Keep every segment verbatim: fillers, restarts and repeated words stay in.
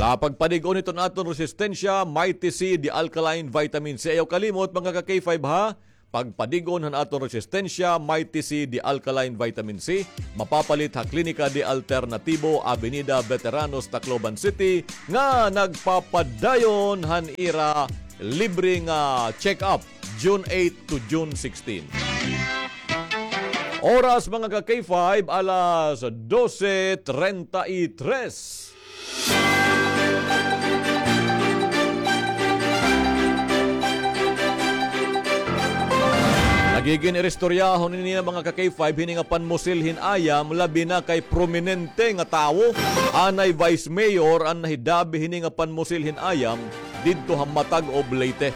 Ah, pagpadig-on iton aton resistensya, Mighty C, the alkaline vitamin C. Ayaw kalimot, mga ka-K five, ha? Pagpadig-on han aton resistensya, Mighty C, the alkaline vitamin C. Mapapalit ha Klinika de Alternatibo, Avenida Veteranos, Tacloban City, nga nagpapadayon han ira libre nga check-up, June eight to June sixteen. Oras, mga ka-K five, alas dose treinta y tres. Nagigin-iristoryahon ini, mga ka-K five, hini nga panmusil hin ayam, labi na kay prominente nga tawo, anay Vice Mayor, an nahidabi hini nga panmusil hin ayam didto ha Matagob, Leyte.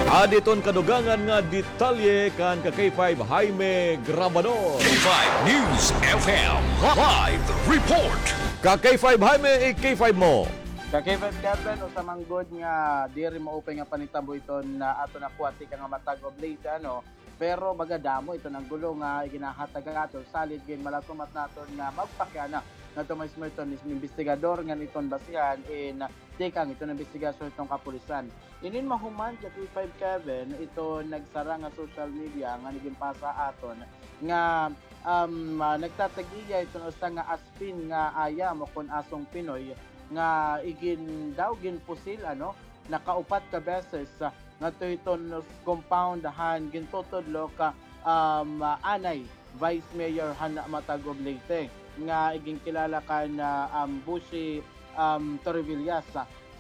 Adi iton kadugangan nga detalye kan ka-K five Jaime Grabador. K five News F M live report. Ka-K five Jaime, i-K five mo. Ka-K five Kevin, usa man gud nga diri maupay nga panitabo iton aton nakuha tikang ha Matagob, Leyte, ano. Pero baga damo iton gulo nga iginahatag aton, salit ginmalatumat naton nga magpakiana ngadto mismo iton mis-, investigador ngan iton basihan in tikang iton imbestigasyon iton kapulisan. Inin mahuman, ka-K five Kevin, iton nagsara nga social media nga nagin pasa aton nga, um, ah, nagtatag-iya iton usa nga aspin nga ayam o kon asong Pinoy nga igin daw ginpusil, ano, nakaupat ka beses, ah, ngadto hiton compound han gintutudlo ka, um, ah, anay Vice Mayor han Matagob, Leyte, nga iginkilala kan, ah, um, Bushi, um, Torrevillas.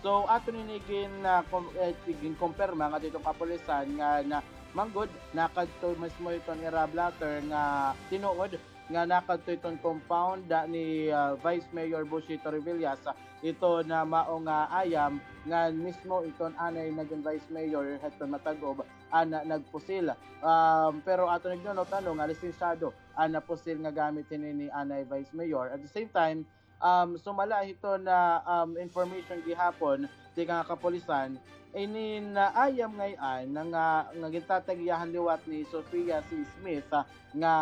So, aton ini gin, ah, kom-, eh, ginkumpirma ngadto hiton kapulisan nga, nga man gud nakadto mismo hiton ira blotter nga tinuod nga nakadto hiton compound, ah, ni, ah, Vice Mayor Bushi Torrevillas, ah, iton mao nga ayam ngan mismo iton anay nagin Vice Mayor hiton Matagob an nagpusil. Um, pero aton ignonot, ano, nga lisensyado an napusil nga gamit hini ni anay Vice Mayor. At the same time, um, sumala hiton, um, information gihapon tikang ha kapulisan, inin ayam ngay-an nga, nga gintatag-iya han liwat ni Sofia C. Smith, ah, nga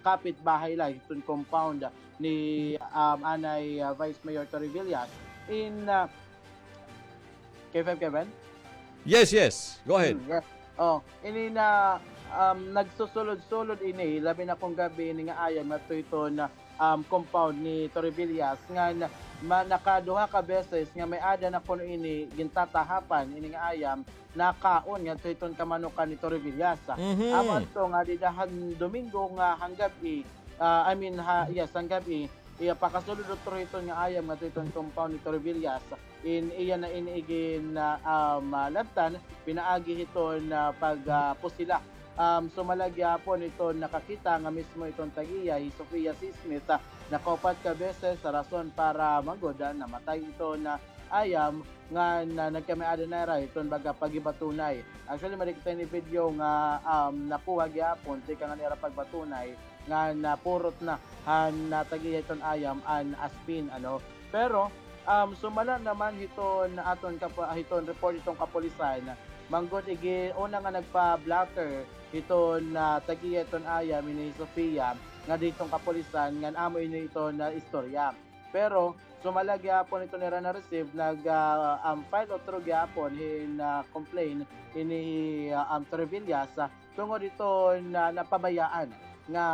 kapitbahay la hiton compound ni, um, anay, ah, Vice Mayor Torrevillas. In, ah, K five Kevin? Yes, yes. Go ahead. Hmm, yes. Oh, ini na, um, nagsusulod-sulod ini, labi na kon gab-i ini nga ayam ngadto hiton, um, compound ni Torrevillas, ngan ma-, nakaduha ka beses nga may-ada na kuno ini gintatahapan ini nga ayam, nakaon ngadto hiton kamanukan ni Torrevillas. Mhm. Amo adto nga dida han Domingo nga han gab-i, ah, I mean, ha, yes, han gab-i, iya pakasulod utro hiton nga ayam ngadto hiton compound ni Torrevillas. In iya na ini igin, ah, um, ah, labtan, pinaagi hiton, ah, pag, ah, pusila. Um, sumala gihapon hiton nakakita nga mismo iton tag-iya, hi Sofia C. Smith, ah, nakaupat ka beses, rason para man gud namatay iton ayam nga, nga nagkamay-ada na ira hiton baga paghibatunay. Actually, may-ada kita ini video nga, um, nakuha gihapon tikang han ira pagbatunay nga napurot na han, ah, tag-iya hiton ayam an aspin, ano. Pero, um, sumala naman hiton aton kap-, hiton report hiton kapulisan, man gud igi-, una nga nagpa-blotter hiton, ah, tag-iya hiton ayam, ini hi Sofia, ngadto hiton kapulisan ngan amo ini iton istorya. Pero sumala gihapon hiton ira na-receive, nag, ah, um, file utro gihapon hin, ah, complaint ini hi, ah, um, Torrevillas, ah, tungod hiton napabayaan nga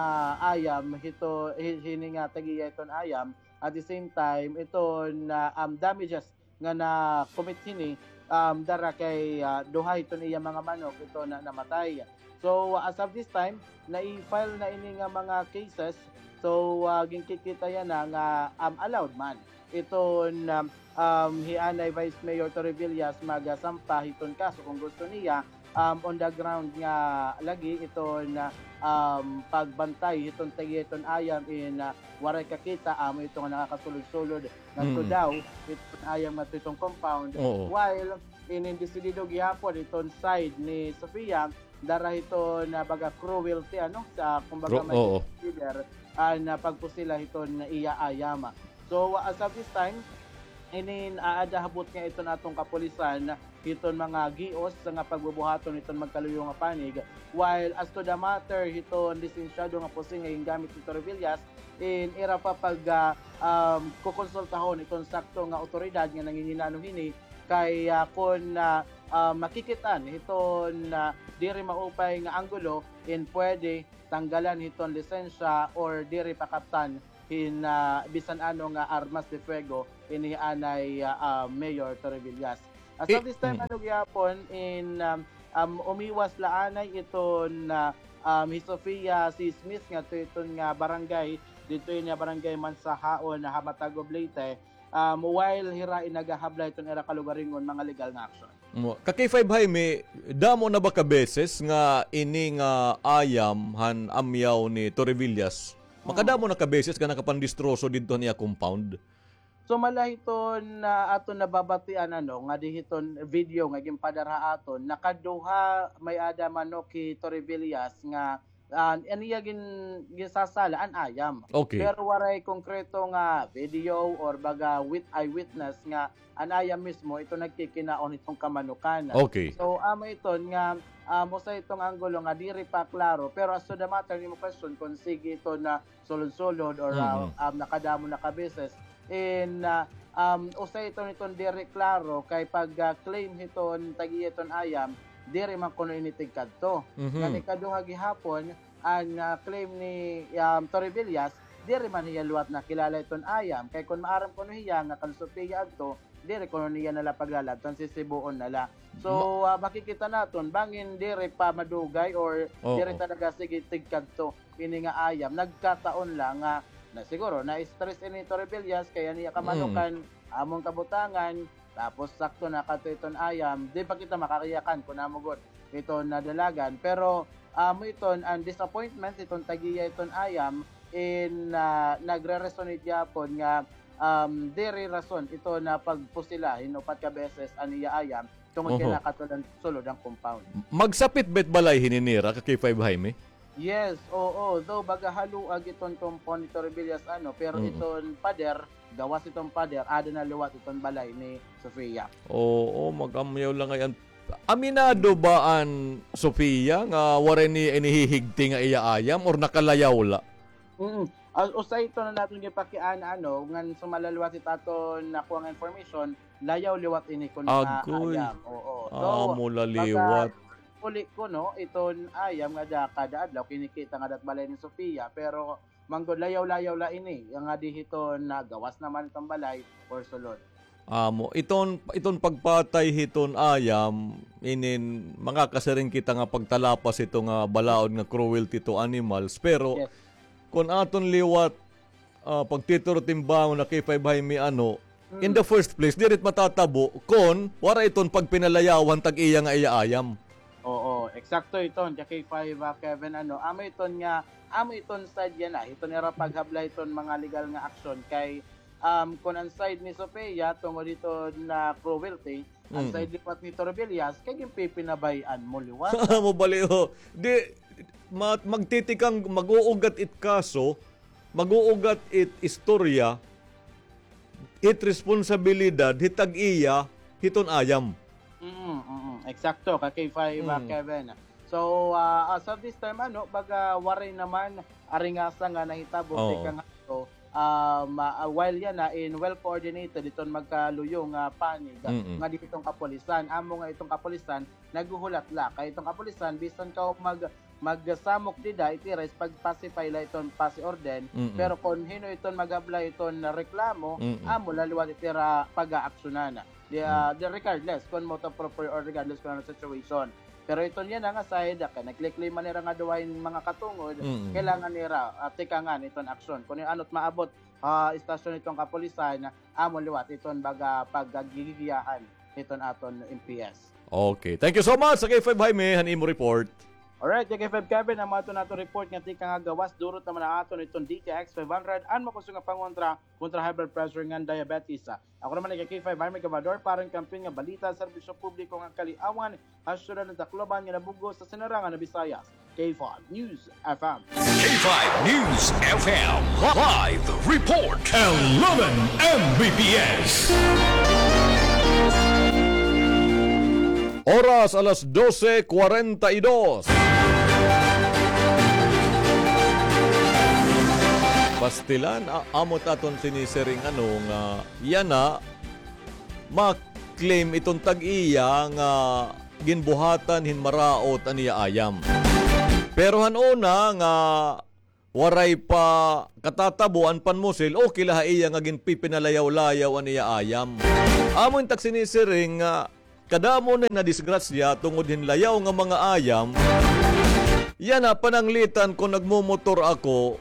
ayam hito, hi-, hini nga tag-iya hiton ayam. At the same time, iton, ah, um, damages nga na-commit hini, um, dara kay, ah, duha hiton iya mga manok iton namatay. So, as of this time, nai-file na ini nga mga cases. So, ah, ginkikita yana nga, um, allowed man iton, um, um, hi anay Vice Mayor Torrevillas magasampa hiton kaso kon gusto niya, um, on the ground nga lagi iton, um, pagbantay hiton tag-iya hiton ayam in, ah, waray kakita, amo ito nga nakakasulod-sulod ngadto daw hiton ayam ngadto hiton compound. Oo. While inin desidido gihapon iton side ni Sofia, dara hiton baga cruelty, ano, sa, kumbaga, may consider an, ah, pagpusila hiton iya ayam. So, as of this time, inin aada ha butnga iton aton kapulisan hiton mga gios nga pagbubuhaton hiton magkaluyo nga panig. While as to the matter hiton lisensyado nga pusil nga gingamit ni Torrevillas, in ira pa pag, ah, um, kukonsultahon iton sakto nga awtoridad nga nanginginano hini kay, ah, kon, ah, ah, makikit-an hiton, ah, diri maupay nga anggulo, in pwede tanggalan hiton lisensya or diri pakaptan hin, ah, bisan ano nga armas de fuego ini anay, ah, ah, Mayor Torrevillas. As of this time, ano gihapon, in, um, um, umiwas la anay iton, ah, um, hi Sofia C. Smith ngadto iton nga barangay, didto ini nga barangay Mansahaon, ha Mataguig, Leyte, um, while hira in nagahabla hiton ira kalugaringon mga legal nga aksyon. Mo, ka K five Jaime, damo na ba ka beses nga ini nga ayam han amyaw ni Torrevillas? Makadamo na ka beses nga nakapandistroso didto han iya compound? So, mala hiton aton nababatian, ano, nga di hiton video nga ginpadara ha aton, nakaduha may-ada manok hi Torrevillas nga, ah, an iya gin-, ginsasala an ayam. Okay. Pero waray konkreto nga video or baga wit-, eyewitness nga an ayam mismo ito nagkikinaon hiton kamanukan. Okay. So, amo iton nga, um, usa iton anggulo nga diri pa klaro. Pero as to the matter nimo question, kon sige ito na sulod-sulod or, ah, um, nakadamo na ka beses. In, ah, um, usa ito niton diri klaro kay pag, ah, claim hiton tag-iya iton ayam, diri man kuno ini tigkadto. Mhm. Ngan ikaduha gihapon, an, ah, claim ni, um, Torrevillas, diri man hiya liwat nakilala iton ayam. Kay kon maaram kuno hiya nga kan Sofia adto, diri kuno niya na la paglaladton, sisibuon na la. So, ah, makikita naton, bangin diri pa madugay or diri talaga sige tigkadto ini nga ayam. Nagkataon la nga, na siguro, na-stress ini Torrevillas, kay an iya kamanukan, amon kabutangan, tapos sakto na kadto iton ayam, di pa kita makakiyakan kon amo gud iton nadalagan. Pero, amo iton an disappointment iton tag-iya iton ayam, in, ah, nagre-resonate gihapon nga, um, diri rason ito na pagpusila hin upat ka beses an iya ayam tungod kay nakatulan sulod an compound. Magsapit ba it balay hini nira, ka K five Jaime? Yes, oo. Though baga haluag iton compound ni Torrevillas, ano, pero iton pader, gawas iton pader, ada na liwat iton balay ni Sofia. Oo, mag-amyaw la ngay-an. Aminado ba an Sofia nga waray niya inihihigti nga iya ayam or nakalayaw la? Mm. Ah, usa ito na naton gipakiana, ano, ngan sumala liwat it aton nakuha nga information, layaw liwat ini kuno nga ayam. Oo. So, amo la liwat. Uli kuno iton ayam nga da kada adlaw kinikita nga dat balay ni Sofia, pero manggod layaw-layaw la ini, nga di hiton nagawas naman iton balay or sulod. Amo, iton, iton pagpatay hiton ayam, inin, makakasiring kita nga pagtalapas hito nga balaod nga cruelty to animals. Pero, kon aton liwat, ah, pagtituro-timbangon na K five Jaime, ano, in the first place, diri it matatabo kon waray iton pagpinalayawan tag-iya nga iya ayam. Oo, eksakto iton, ka K five, ah, Kevin, ano, amo iton nga, amo iton side yana, hiton ira paghabla hiton mga legal nga aksyon kay, um, kon an side ni Sofia tungod hiton na cruelty, an side liwat ni Torrevillas, kay ginpipinabay-an mo liwat. Amo bali, o. Di, ma-, magtitikang, mag-uugat it kaso, mag-uugat it istorya, it responsibilidad, hit tag-iya, hiton ayam. Mm, mm, mm. Eksakto, ka K five, ah, Kevin. So, ah, as of this time, ano, baga waray naman aringasa nga nahitabo, tikang ato, um, ah, while yana in well coordinated iton magkaluyo nga panig nga di iton kapulisan. Amo nga iton kapulisan, naghuhulat la. Kay iton kapulisan, bisan kaw mag-, magsamok dida, it ira is pag-pacify la iton pasi orden. Pero kon hin-o iton maghabla iton reklamo, amo la liwat it ira pag-aaksyonan. Di, ah, di regardless kon moto proprio or regardless kon ano situation. Pero iton yana nga side, kay nagklikli man nira nga duha hin mga katungod, kailangan nira, ah, tikangan iton aksyon. Kon ano it maabot, ah, istasyon iton kapulisan, amo liwat iton baga paggigiyahan hiton aton M P S. Okay. Thank you so much, ka K five Jaime, han imo report. Alright, ka K five Kevin, amo aton aton report nga tikang ha gawas, durot naman an aton iton D T X five hundred, an makusog nga pangontra kontra high blood pressure ngan diabetes. Ako naman hi ka K five Jaime Gabador para han Kampiyon nga Balita, Serbisyo Publiko ngan Kaliawan, ha syudad han Tacloban nga nabug-os ha sinarangan nga Visayas. K five News F M. K five News F M live report. Eleven M B P S. Oras, alas dose kwarenta y dos. Pastilan, a-, amo it aton sinisiring ano nga yana ma-claim iton tag-iya nga ginbuhatan hin maraot an iya ayam. Pero han una nga waray pa katatabo an panmusil, okay la ha iya nga ginpipinalayaw-layaw an iya ayam. Amo it ak sinisiring nga kadamo na nadisgrasya tungod hin layaw nga mga ayam. Yana, pananglitan kon nagmomotor ako,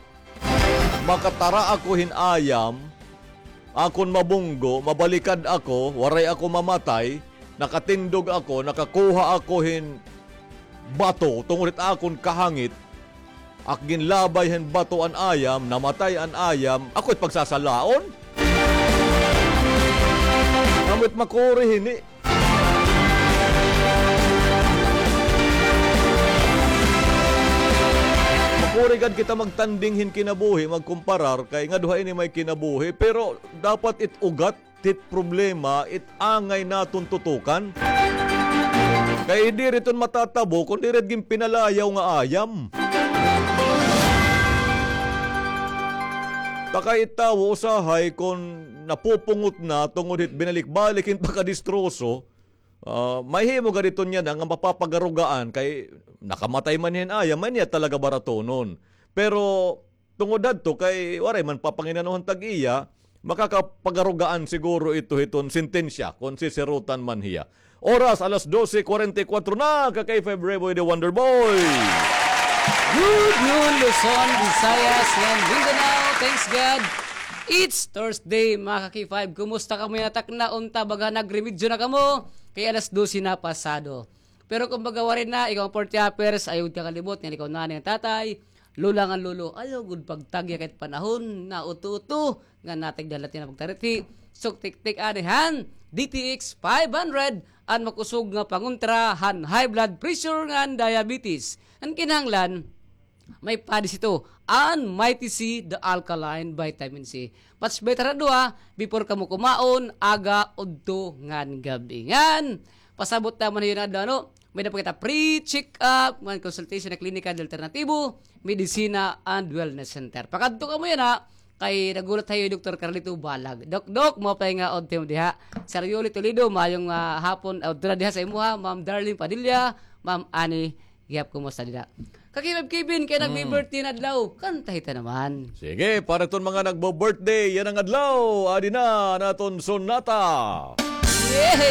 makatara ako hin ayam, akon mabunggo, mabalikad ako, waray ako mamatay, nakatindog ako, nakakuha ako hin bato, tungod it akon kahangit, ak ginlabay hin bato an ayam, namatay an ayam, ako it pagsasalaon? Amo it makuri hini. Makuri gad kita magtanding hin kinabuhi, magkumparar, kay ngadto ha ini may kinabuhi, pero dapat it ugat, it problema, it angay naton tutukan. Kay diri iton matatabo kon diri it ginpinalayaw nga ayam. Ta kay it tawo usahay kon napupungot na tungod hit binalik-balik hin pagkadistroso, ah, mahimo gad iton yana nga mapapagarugaan kay nakamatay man hin ayam, may niya talaga baratonon. Pero tungod hadto kay waray man papanginanohan tag-iya, makakapagarugaan siguro ito hiton sentensya kon sisirutan man hiya. Oras, alas dose kuwarenta y kuwatro na, ka K five Reboy the Wonder Boy. Good noon, Luzon, Visayas, and Mindanao. Thanks God. It's Thursday, mga ka K five. Kumusta kamo yana takna? Unta, baga nagremedyo na kamo? Kay alas dose na pasado. Pero kumbaga, waray na, ikaw an forty hours, ayaw gud kakalimot nga ikaw nanay ngan tatay, lola ngan lolo, ayaw gud pagtagya kay it panahon nauto-uto nga natigdan la it nga pagtarithi. Suktiktik anay han D T X five hundred, an makusog nga pangontra han high blood pressure ngan diabetes. An kinahanglan, may padis ito, an Mighty C, the alkaline vitamin C. Much better an duha, before kamo kumaon, aga, udto, ngan gab-i. Ngan, pasabot naman hiyo nga adlaw, ano? May-ada pa kita free check-up, ngan consultation ha Klinika de Alternatibo, Medisina and Wellness Center. Pakadto kamo yana, kay naghulat ha iyo hi Doktor Carlito Balag. Dok, Dok, maupay nga udto diha. Sir Yoli Toledo, maayong, ah, hapon, ah, udto na diha sa imuha, Ma'am Darlene Padilla, Ma'am Annie Gihap, kumusta dida? Ka K five Kevin, kay nagbi-birthday na adlaw. Kantahi ta naman. Sige, para iton mga nagbo-birthday yana nga adlaw, adi na an aton sonata. Yay!